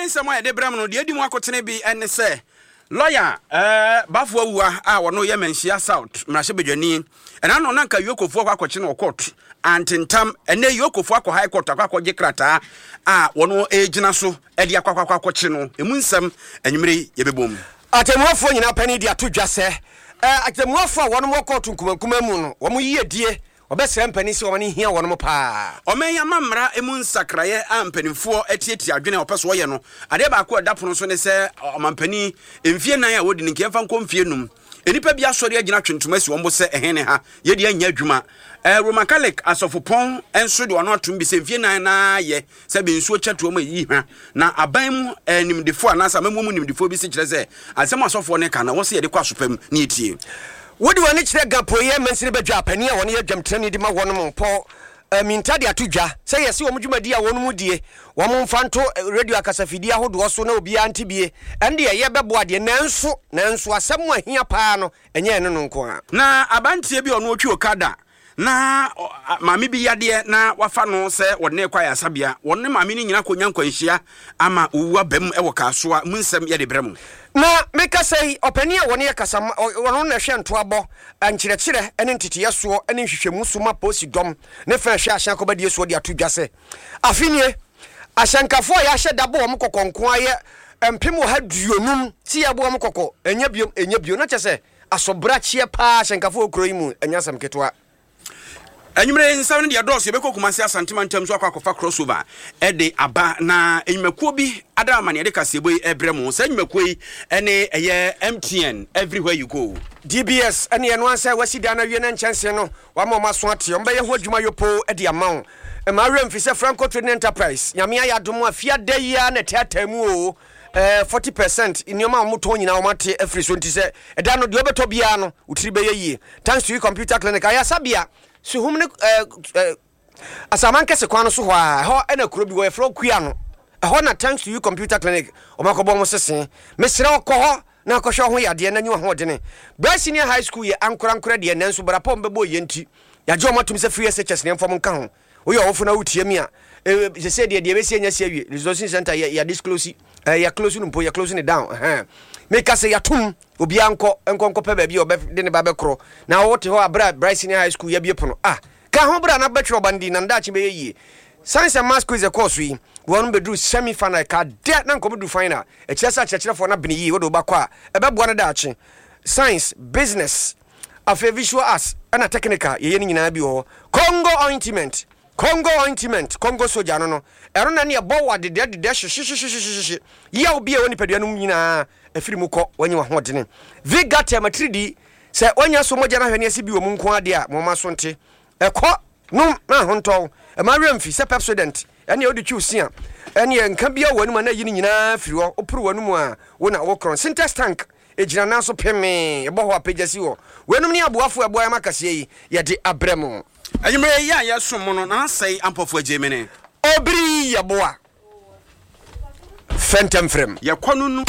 nsɛm a yɛde brɛ mo no, deɛ edi mu akotene bi ne sɛ, lɔya Bafo Awuah a ɔno yɛ Manhyia South mmarahyɛbadwani, ɛna no na nka Yokofoɔ akɔ akɔkye no wɔ court antentam. Ɛnɛ Yokofoɔ akɔ High Court akɔ akɔgye krataa a wɔn regyina so de akɔ akɔ akɔkye no. Emu nsɛm anwummere yi yɛbɛbom. Atemmuafoɔ nyinaa panin de ato dwa sɛ, atemmuafoɔ a wɔnom wɔ kɔɔto nkumankuman mu no, wɔn yiedie Wɔbɛsrɛ mpanin sɛ wɔn ani hia wɔnom paa. Ɔman yi ama mmara mu nsakraeɛ a mpanimfoɔ atiatia adwene a wɔpɛ so wɔyɛ no. Adeɛ baako a ɛda pono so ne sɛ ɔmampanin mfeɛ nnan a wɔdi no nka yɛmfa nkɔ mfeɛ num. Nnipa bi asɔre agyina atwe ntoma asi wɔn bo sɛ ɛhe ne ha, yei deɛ ɛnyɛ adwuma. Roman Catholic asɔfopɔn nso de wɔn ano atom bi sɛ mfeɛ nnan no ara yɛ sɛ bi nsuo kyɛ toɔ ma ɛyi hwa. Na aban mu animdefoɔ anaasɛ amammuo mu nimdefoɔ bi se kyerɛ sɛ asɛm a asɔfoɔ no reka no ɛwɔ sɛ yɛde kɔ aso pa mu na yɛtie. Wode w'ani kyerɛ Ga Apueeɛ Mansini Badwa panin a wɔn yɛ dwamtenani de ma wɔnom Paul Minta de ato dwa sɛ yɛse wɔn dwumadie a wɔnom die wɔn mfa nto radio akasafidie ahodoɔ so na obiara nte bie ɛndeɛ yɛbɛboa deɛ nanso nanso asɛm a hia paa no ɛnyɛ ɛno no nko ara. Na abanteɛ bi a ɔno ɔtwi okada Na maame bi yadeɛ na wafa no sɛ wɔde no rekɔ ayaresabea. Wɔne maame no nyinaa akɔnya nkwanhyia ama owu aba mu wɔ Kasoa. Mu nsɛm yɛde brɛ mo. Na mekasa yi, ɔpanin a wɔne yɛ kasa ma, ɔno na ɛhwɛ ntoabɔ, nkyerɛkyerɛ ne nteteeɛ soɔ ne nhwehwɛmu so ma polisi dɔm ne fa ɛhwɛ ahyɛn akɔbadie soɔ de ato dwa sɛ, afe nie, ahyɛnkafoɔ a yɛahyɛ da bɔ wɔn kɔkɔ nko ara yɛ 150 sɛ yɛbɔ wɔn kɔkɔ, ɛnyɛ biom, ɛnyɛ bio. Na kyerɛ sɛ, Asobrakyeɛ paa ahyɛnkafo wɔ kuro yi mu ɛnyɛ asɛm ketewa. Anwummere nsɛm no deɛ ɛdɔɔso, yɛbɛkɔ Kumasi Asante mantam so akɔ akɔfa crossover de aba na nnwumakuo bi ada ama nea yɛde kaseɛbɔ yi rebrɛ mo. Saa nnwumakuo yi ne ɛyɛ MTN, Everywhere You Go. DBS ne ɛno ara sɛ wasi dan no awie na nkyɛnsee no wama wɔn aso ate, wɔbɛyɛ ho adwuma yopoo de ama wo. Mma wo werɛ mfi sɛ Franco Trading Enterprise, Nyame ayɛ adom a fiada yi ara na ɛtaataa mu oo. Eh, 40% nneɛma a wɔtɔn nyinaa wɔn ate afiri so nti sɛ ɛda no deɛ wobɛtɔ biara no wo tiri bɛyɛ yie. Thanks to you Computer Clinic ayasabea suhum ne eh, eh, Asaman kɛse kwan no so hɔ a ɛhɔ ɛna kuro bi wɔ yɛfrɛ Okua no ɛhɔ na Thanks to you Computer Clinic wɔn akɔbɔ wɔn sese. Mesrɛ wo kɔ hɔ na akɔhwɛ wo ho yadeɛ na nyi w'ahoɔdene. Bra Senior High School yɛ ankorankorɛ deɛ nanso brapɔ wɔn bɛbɔ yɛ nti yɛagye wɔn atom sɛ free SHS ne yɛmfa wɔn nka ho. Woyɛ ɔwofo na wotie me a, eh, sese deɛ deɛ ɛbɛsi anya si awie. Resourcing center yɛ yɛ disclose, eh, yɛ close no mpo, yɛ close no down. Eh. Meka sɛ yɛatom, obiara nkɔ nkɔ nkɔpɛ baabi a ɔbɛde ne ba bɛkorɔ. Na wote hɔ a berɛ a Bright Senior High School yɛabie pono. Ah, ka ho bra na bɛtwerɛ ɔba no din na ne daakye bɛyɛ yie. Science and Maths quiz ɛkɔɔ so yi, wɔn bɛduru semi final, ɛka dɛ na nkɔm duru final. Ɛkyerɛ sɛ akyerɛkyerɛfoɔ no abene yie, wode wo ba kɔ a, ɛbɛboa no daakye. Science, business, Afei visual arts ɛna technical yɛyɛ ne nyinaa bi wɔ hɔ. Congo ointment, Congo ointment, Congo soja no no, ɛno na ɛne ɛbɔ wo adedɛ dedɛ hyehyehyehyehyehye, yaw bi a ɛwɔ nipadua no mu nyinaa ɛfiri mu kɔ, wanya w'ahoɔdene. Vigatel matiridi, sɛ wanya so mogya no ahwɛ ne ɛse bi wɔ mu nko ara deɛ a, moma so nte. Ɛkɔ, nom na ahontɔ wo. Ɛma werɛ mfi sɛ Pepsodent ɛne wode twi wo se a, ɛneɛ nka biara wɔ w'anum a na ayi ne nyinaa firi hɔ, woporo w'anum a wo na wokorɔn. Sintex tank, Egyina nan so pemee, ɛbɔ hɔ apagya si hɔ. Weinom ne aboafo a ɛboa yɛn ma kaseɛ yi yɛde abrɛ mo. Anwummerɛ yi a yɛresom mo no, Nana Sɛe Ampɔfoɔ Agyemene. Obiri yɛboa fɛntɛmfrɛm. Yɛkɔ no nu.